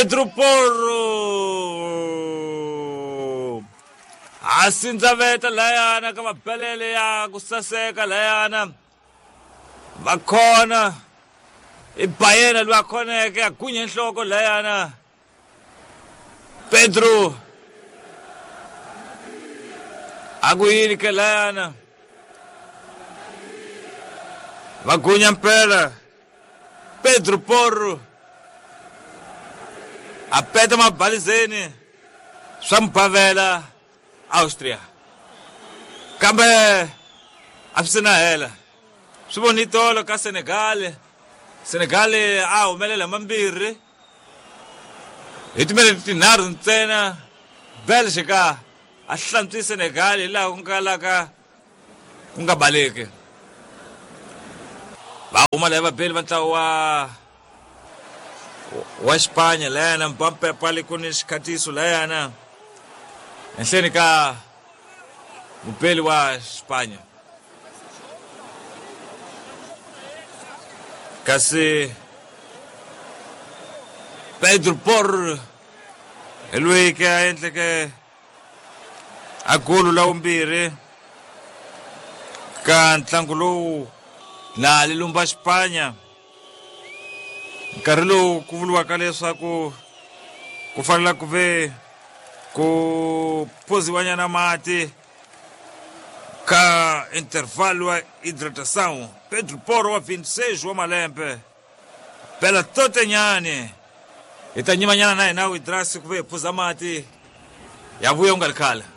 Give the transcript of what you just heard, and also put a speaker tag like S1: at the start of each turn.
S1: Pedro Porro a sindzaveta layana ka mabelele ya ku saseka layana va khona i Bayena loyi a khoneke a gunye nhloko layana Pedro a ku yini ke layana va gunya mpela Pedro Porro a peta mabalizeni swa mubavela Austria kambe a swi se na hela swi voni tolo ka Senegal Senegal a humelela mambirhi hi timinete tinharhu ntsena Belgica a hlantswi Senegal hi laha ku nga laka ku nga baleki va huma laha vabeli va ntlawa wa wa Xipanya layana Mbappe le ku ni xikhatiso layana henhleni ka mubeli wa Xipanya kasi Pedro Porro hi loyi ke a endleke a golo la vumbirhi ka ntlangu lowu laha li lumba Xipanya nkarhi lowu ku vuriwaka leswaku ku fanele ku ve ku phuziwanyana mati ka intervalo wa hidratação Pedro Porro wa 26 wa malembe bela totenyane hi ta nyimanyana na hina widrasi ku ve hi phuza mati ya vuya ku nga ri khale.